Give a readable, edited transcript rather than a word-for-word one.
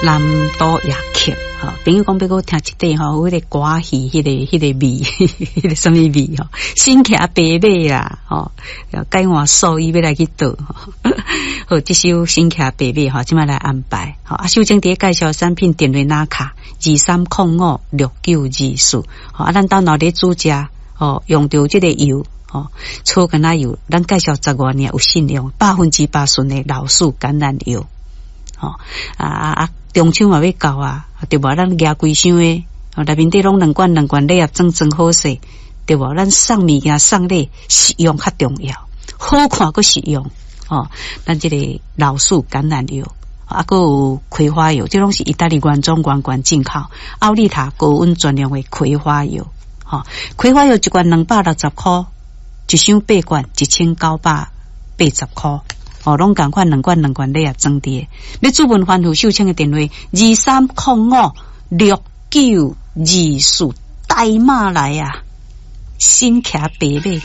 南都夜曲。吼，朋友講欲閣聽一塊吼，彼個歌戲，彼個味，彼個啥物味吼？身騎白馬啦，吼，改換素衣欲來去倒。好，這首身騎白馬吼，這擺來安排。好，啊，秀貞佇咧介紹產品電話拿卡23056924。好，啊，咱兜若咧煮食，吼，用著這個油。吼，草橄欖油，咱介紹十外年有信用，100%純的老樹橄欖油。吼，啊啊啊！中秋嘛欲到啊，對無？咱舉規箱的，內面底攏兩罐兩罐禮盒裝裝好勢，對無？咱送物件送禮實用較重要，好看閣實用。吼，咱這個老樹橄欖油，啊，閣有葵花油，這攏是意大利原裝原罐進口，奧利塔高溫專用的葵花油。吼，葵花油一罐260箍，一箱八罐1980箍。哦，攏仝款兩罐兩罐禮盒裝佇，欲諮問番婦秀清的電話23056924，大馬來啊，身騎白馬。